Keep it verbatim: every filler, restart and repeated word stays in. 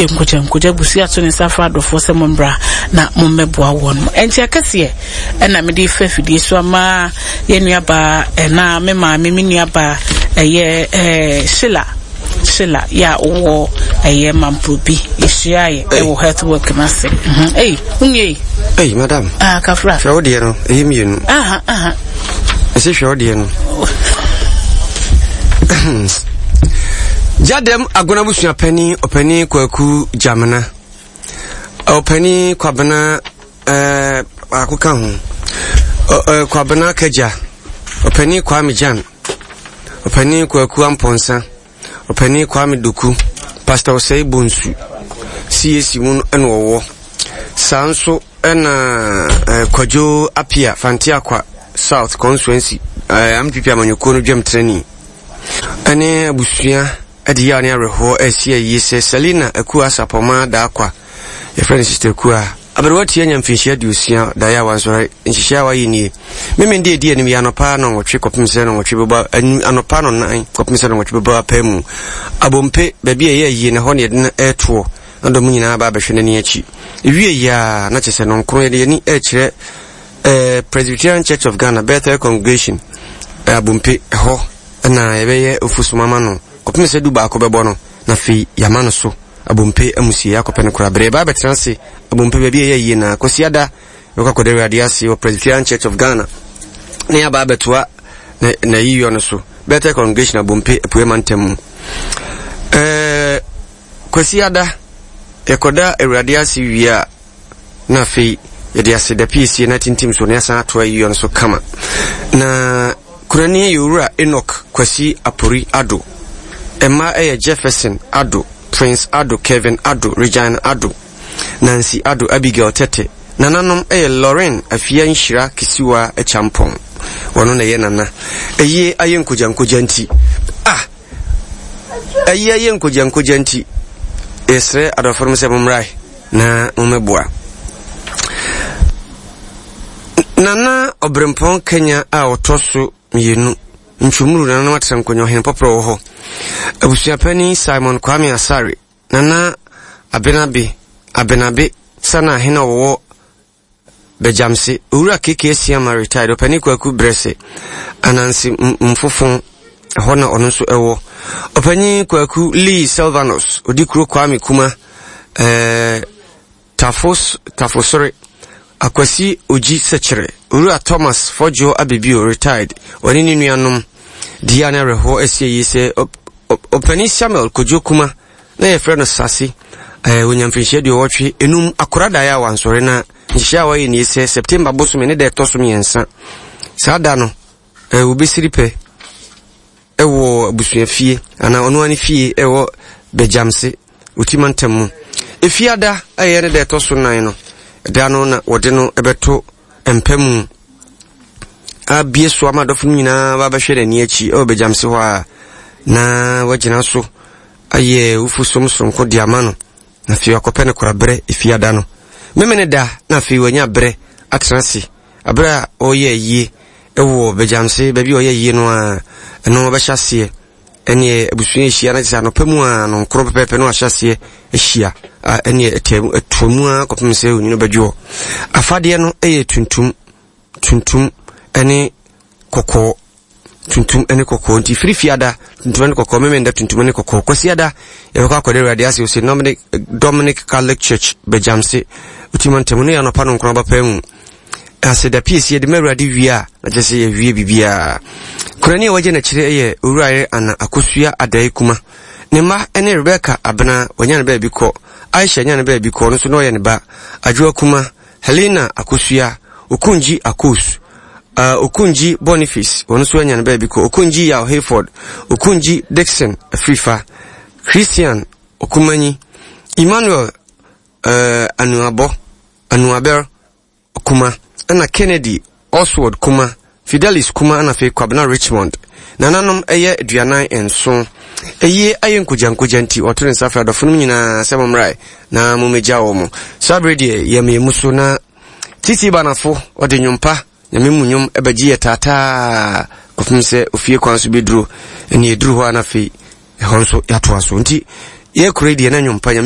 Yɛ nkogya nkogya abusua ato ne nsa afra adɔfoɔ sɛ mommra na mommɛboa wɔn. Ɛnti akɛseɛ ɛna mede fa afidie so ama yɛn nuabaa, ɛna me maame, me nuabaa ɛyɛ ɛɛ Sheila Sheila yɛ a ɔwɔ ɛyɛ Mamprobi. Yɛhyia yɛ ɛwɔ health work no ase. Ei, wonwie yi? Ei, madam. Ah, kafra. Hwɛ wo deɛ no, ɛyɛ mmienu. Aha, aha. Ɛsɛ hwɛ wo deɛ no. Gyadɛm Agona abusua panin, ɔpanin Kwaku Gyamena, ɔpanin Kwabena ɛɛ baako ka ho, ɔ Kwabena Kagya, ɔpanin Kwame Gyan, ɔpanin Kwaku Ampɔnsa, ɔpanin Kwame Doku, Pastor Osei Bonsu, C A C mu ɛna ɔwɔ. Saa nso ɛna ɛɛ Kwadwo Apia, Fanteakwa South Constituency, ɛɛ N P P amanyɔkuo no dwam trani, ɛne abusua ɛde yaw ne awerɛhoɔ ɛsi ayie sɛ Selina Akua Asapɔma Daakwa, yɛfrɛ no Sister Akua, aberewa tia nya mfinhyia aduosia daeɛ a wansɔre. Nhyehyɛ a wayɛ nie: Memende edi anim yɛ anɔpa nɔnwɔtwe kɔpem sɛ nɔnwɔtwe bɛbɔ, anɔpa nɔnan kɔpem sɛ nɔnwɔtwe bɛbɔ apaa mu, Abompe, baabi a ɛyɛ ayie na hɔ ne yɛde no ɛɛtoɔ na dɔm nyinaa ba abɛhwɛ n'ani akyi. Ewie yi a, na kyerɛ sɛ nɔnkron yɛde yɛni ɛrekyerɛ ɛɛ Presbyterian Church of Ghana, Bethel Congregation, ɛɛ Abompe, ɛhɔ ɛna yɛbɛyɛ ofusuma ama no kɔpem sɛ du baako bɛbɔ no, na afei yɛama no so Abompe amusie akɔpɛ no koraa berɛ yɛba abɛtena ase Abompe baabi a ɛyɛ yie. Na Kwasiada yɛkɔ akɔda Awurade ase wɔ Presbyterian Church of Ghana na yɛaba abɛtoa na na yiyɔ no so, Bethel Congregation, Abompe, Apuei Mantam mu. ɛɛ kwasiada yɛkɔda Awurade ase wie a, na afei yɛde aseda piesie na tintim so na yɛsan atoa yiyɔ no so kama. Na kurani yɛ Owura Enoch Kwasi Apori Ado. Mma ɛyɛ Jefferson Ado, Prince Ado, Kevin Ado, Regina Ado, Nancy Ado, Abigail Tete. Nananom ɛyɛ Lauren Afia Nhyira Kisiwa Akyampɔn, wɔno na ɛyɛ nana. Ɛyie ayɛ nkogyankogya nti, ah, ɛyie ayɛ nkogyankogya nti, yɛsrɛ adɔfo no sɛ mommrae na mommɛboa Nana Ɔberempɔn Kenya a ɔtɔ so mmienu, Ntwumuru. Nananom atena nkonnwa, ɔhene pɔprɔ wɔ hɔ, abusuapani Simon Kwame Asare, Nana Abenabe Abenabe Sana, ahene a wɔwɔ Bɛgyamse, Owura Keke Asiama, retired, ɔpani Kwaku Brɛsɛ Ananse Mfofo, ɛhɔ na ɔno nso ɛwɔ, ɔpanyin Kwaku Lee Silvanus, odi kuro Kwame Kuma, ɛɛ Tafos Tafosore, Akwasi Ogyi Sɛkyerɛ, Owura Thomas Fɔdwo Abebio, retired, ɔne ne nuanom dia ne awerɛhoɔ asie yi sɛ ɔpanin Samuel Kodwo Kuma na yɛfrɛ no Sase, ɛɛ onya mfinhyia aduɔwɔtwe enum, akora daeɛ a wansɔre. Na nhyehyɛ a wɔayɛ nie sɛ September bosome ne da ɛtɔ so mmiɛnsa, saa da no ɛɛ wɔbɛsiri pɛ ɛwɔ abusuafie anaa ɔno ani fie ɛwɔ Bɛgyamse, Oti mantam mu. Efiada ɛyɛ ne da ɛtɔ so nan no, ɛda no na wɔde no ɛbɛto mpa mu abie so ama adɔfo no nyinaa ba bɛhwɛ n'ani akyi ɛwɔ Bɛgyamse hɔ a, na wagyina so ayɛ wufu som sonko de ama no, na afei akɔpɛ no koraberɛ. Efiada no memene da na afei wanya berɛ atena ase aberɛ a ɔreyɛ ayie ɛwɔ Bɛgyamse, baabi a ɔyɛ ayie no a, ɛno ɔbɛhyɛ aseɛ ɛneɛ abusua ahyia na kyerɛ sɛ anɔpa mu a nɔnkoro pɛpɛɛpɛ no ahyɛ aseɛ ahyia a, ɛneɛ ɛtoa mu a kɔpem sɛ onwunu bɛdwoɔ. Afadeɛ no ɛyɛ tuntum tuntum ɛne kɔkɔɔ, tuntum ne kɔkɔɔ. Nti firi Fiada, tuntum ne kɔkɔɔ; Memenda, tuntum ne kɔkɔɔ; Kwasiada yɛbɛkɔ akɔde Awurade ase ɔsɛ Dominic, Dominic Catholic Church, Bɛgyamse, Ɔtima ntam no yɛ anɔpa no nkron abapaa mu. Aseda piesie yɛde ma Awurade wie a, na kyerɛ sɛ yɛwie biribiaa. Kurani a wagye n'akyire yɛ Owurayere Ana Akosua Adae Kuma. Ne mma ne Rebecca Abena, wanya ne baabi kɔ; Aisha nya ne baabi kɔ, ɔno nso na ɔyɛ ne ba; Adwoa Kuma, Helena Akosua, Okunji Akos, uh, Okunji Boniface, ɔno nso anya ne baabi kɔ; Okunji Yaw Hayford, Okunji Dixon Afrifa, Christian Okumanyi, Emmanuel uh, Anuabɔ Anuaber Kuma, ɛna Kennedy Oswald Kuma, Fidelis Kuma, ɛna afei Kwabena Richmond. Nananom ɛyɛ aduanan nson. Ɛyie ayɛ nkogyankogya nti ɔto ne nsa frɛ adɔfo no nyinaa sɛ mommrae na mommɛgya wɔ mo. Saa berɛ deɛ yɛmeyɛ mu so na Titi Banafo ɔde nnwompa Nyame mu nnwom ɛbɛgye yɛ taataa kɔpem sɛ ofie kwan so bɛduro. Ɛne ɛduru hɔ a, na afei ɛhɔ nso yɛatoa so. Nti yɛkuro yi deɛ na nnwompa Nyame.